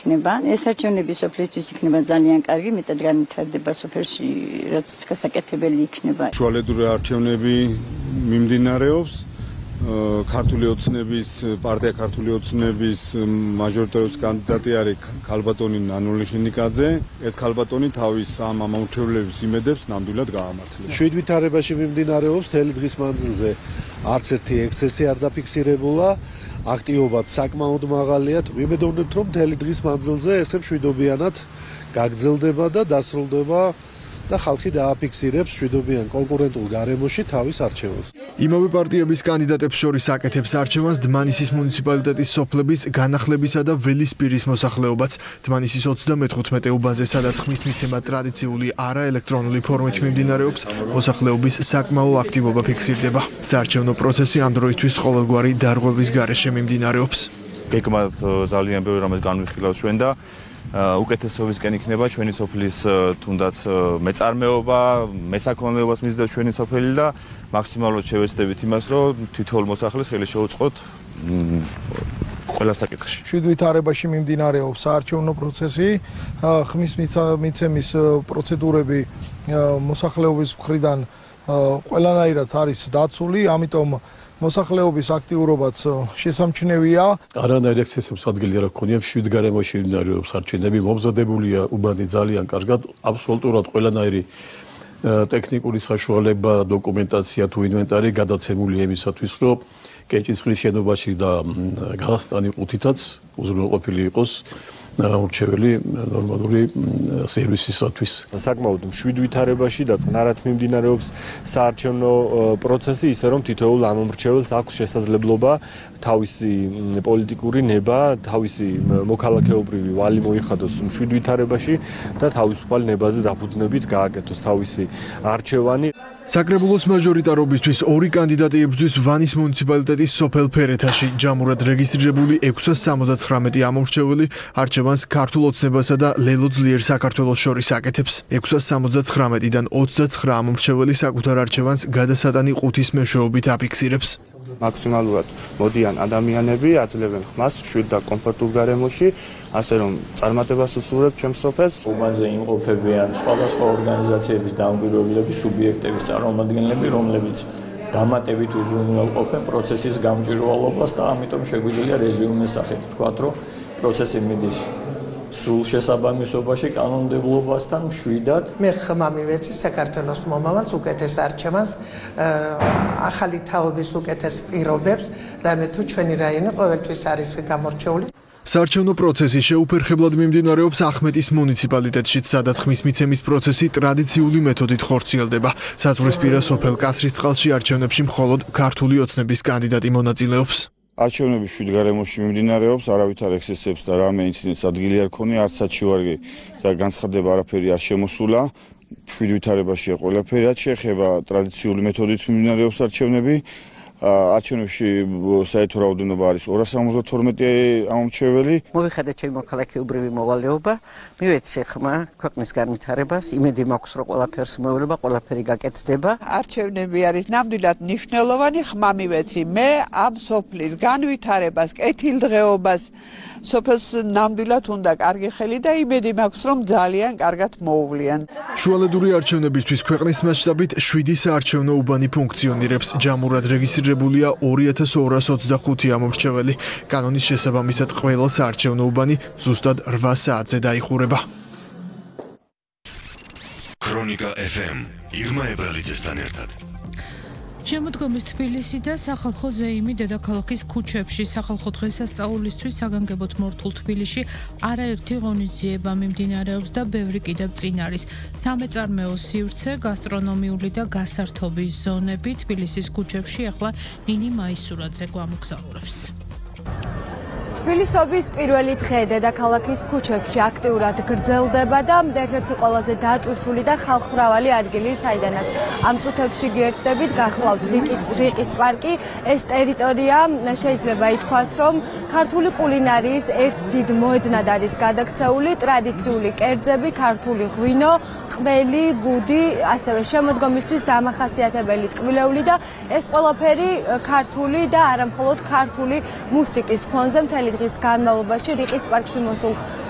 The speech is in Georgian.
იქნება. ეს არჩევნები სოფლისთვის იქნება ძალიან კარგი, მეტად განვითარდება სოფელში, რაც გასაკეთებელი იქნება. შუალედური არჩევნები მიმდინარეობს. ქართული ოცნების პარტია ქართული ოცნების მაჟორიტარული კანდიდატი არის ქალბატონი ნანული ხინიკაძე. ეს ქალბატონი თავის ამ ამორჩევლების იმედებს ნამდვილად გაამართლებს. შვიდვითარებაში მიმდინარეობს მთელი დღის მანძილზე არც ერთი ექსცესი არ დაფიქსირებულა. აქტივობაც საკმაოდ მაღალია. ვიმედოვნებთ, რომ მთელი დღის მანძილზე ესე მშვიდობიანად გაგრძელდება და დასრულდება და ხალხი დააფიქსირებს მშვიდობიან კონკურენტულ გარემოში თავის არჩევანს. იმავე პარტიების კანდიდატებს შორის აკეთებს არჩევანს დმანისის მუნიციპალიტეტის სოფლების განახლებისა და ველისპირის მოსახლეობაც. დმანისის 35 უბანზე, სადაც ხმის მიცემა ტრადიციული არაელექტრონული ფორმით მიმდინარეობს, მოსახლეობის საკმაო აქტივობა ფიქსირდება. საარჩევნო პროცესი ამ დროისთვის ყოველგვარი დარღვევის გარეშე მიმდინარეობს. გეგმად ძალიან ბევრი რამეს განვიხილავთ ჩვენ და უკეთესობისკენ იქნება ჩვენი სოფლის თუნდაც მეწარმეობა, მესაქონლეობას მისდევს ჩვენი სოფელი და მაქსიმალურად შევეცდებით იმას, რომ თითოეულ მოსახლეს ხელი შევუწყოთ ყველა საკითხში. შვიდვითარებაში მიმდინარეობს საარჩევნო პროცესი, ხმის მიცემის პროცედურები მოსახლეობის მხრიდან ყველანაირად არის დაცული, ამიტომ მოსახლეობის აქტიურობაც შესამჩნევია. არანაირ ექსცესებს ადგილი არ აქვს, შვიდ გარემოში მიმდინარეობს არჩევნები, მომზადებულია უბანი ძალიან კარგად, აბსოლუტურად ყველანაირი ტექნიკური საშუალება, დოკუმენტაცია თუ ინვენტარი გადაცემულია იმისათვის, რომ კეჭისყრის შენობაში და გალასტანი ყუთითაც უზრუნველყოფილი იყოს ურჩეველი ნორმალური სერვისისათვის. საკმაოდ მშვიდვითარებაში და წყნარად მიმდინარეობს საარჩევნო პროცესი, ისე რომ თითოეულ ამომრჩეველს აქვს შესაძლებლობა თავისი პოლიტიკური ნება, თავისი მოქალაქეობრივი ვალი მოიხადოს მშვიდვითარებაში და თავისუფალ ნებაზე დაფუძნებით გააკეთოს თავისი არჩევანი. საკრებულოს მაჟორიტარობისთვის ორი კანდიდატი ებრძვის ვანის მუნიციპალიტეტის სოფელ ფერეთაში. ჯამურად რეგისტრირებული 679 ამომრჩეველი არჩევანს ქართულ ოცნებასა და ლელო ძლიერ საქართველოს შორის აკეთებს. 679-დან 29 ამომრჩეველი საკუთარ არჩევანს გადასატანი ყუთის მეშვეობით აფიქსირებს. მაქსიმალურად მოდიან ადამიანები, აძლევენ ხმას მშვიდ და კომფორტულ გარემოში, ასე რომ წარმატებას უსურვებ ჩემს სოფელს. უბანზე იმყოფებიან სხვადასხვა ორგანიზაციების დამკვირვებლები, სუბიექტების წარმომადგენლები, რომლებიც დამატებით უზრუნველყოფენ პროცესის გამჭვირვალობას და ამიტომ შეგვიძლია რეზიუმეს სახით ვთქვათ, რომ პროცესი მიდის სრულ შესაბამისობაში კანონმდებლობასთან მშვიდად. მე ხმამი ვეცი საქართველოს მომავალს, უკეთეს არჩევანს, ახალი თაობის უკეთეს პირობებს, რამე თუ ჩვენი რაიონი ყოველთვის არის გამორჩეული. საარჩევნო პროცესი შეუფერხებლად მიმდინარეობს ახმეტის მუნიციპალიტეტშიც, სადაც ხმის მიცემის პროცესი ტრადიციული მეთოდით ხორციელდება. საზღვრისპირა სოფელ კასრისწყალში არჩევნებში მხოლოდ ქართული ოცნების კანდიდატი მონაწილეობს. არჩევნები შვიდ გარემოში მიმდინარეობს, არავითარ ექსცესებს და რამე ინციდენტს ადგილი არ ქონია, არც საჩივარი და განცხადება არაფერი არ შემოსულა. შვიდვითარებაშია ყველაფერი, რაც შეეხება ტრადიციული მეთოდით მიმდინარეობს არჩევნები. არჩევნებში საერთო რაოდენობა არის 272 ამომრჩეველი. მოვიხადე ჩემი მოქალაქეობრივი მოვალეობა, მივეცი ხმა ქვეყნის განვითარებას, იმედი მაქვს, რომ ყველაფერს მოევლება, ყველაფერი გაკეთდება. არჩევნები არის ნამდვილად მნიშვნელოვანი, ხმა მივეცი მე ამ სოფლის განვითარებას, კეთილდღეობას, სოფელს ნამდვილად უნდა კარგი ხელი და იმედი მაქვს, რომ ძალიან კარგად მოუვლიან. შუალედური არჩევნებისთვის ქვეყნის მასშტაბით 7 საარჩევნო უბანი ფუნქციონირებს. ჯამურად რეგისტრირებულია 2225 ამომრჩეველი. კანონის შესაბამისად ყველა საარჩევნო უბანი ზუსტად 8 საათზე დაიხურება. ქრონიკა FM ირმა ებრალიძესთან ერთად. შემოდგომის თბილისი და სახალხო ზეიმი დედაქალაქის ქუჩებში სახალხო დღესასწაულისთვის საგანგებოდ მორთულ თბილისში არაერთი ღონისძიება მიმდინარეობს და ბევრი კიდევ წინ არის. სამეწარმეო სივრცე, გასტრონომიული და გასართობის ზონები თბილისის ქუჩებში ახლა ნინი მაისურაძე გვამოგზაურებს. თბილისობის პირველი დღე დედაქალაქის ქუჩებში აქტიურად გრძელდება და ერთ-ერთი ყველაზე დატვირთული და ხალხმრავალი ადგილი, საიდანაც ამ წუთებში გიერთდებით, გახლავთ რიყის პარკი. ეს ტერიტორია შეიძლება ითქვას, რომ ქართული კულინარიის ერთ დიდ მოედნად არის გადაქცეული. ტრადიციული კერძები, ქართული ღვინო, ყველი, ლუდი, ასევე შემოდგომისთვის დამახასიათებელი ტკბილეული და ეს ყველაფერი ქართული და არა მხოლოდ ქართული მუსიკის ფონზე მთელი დღის განმავლობაში რიყის პარკში მოსულ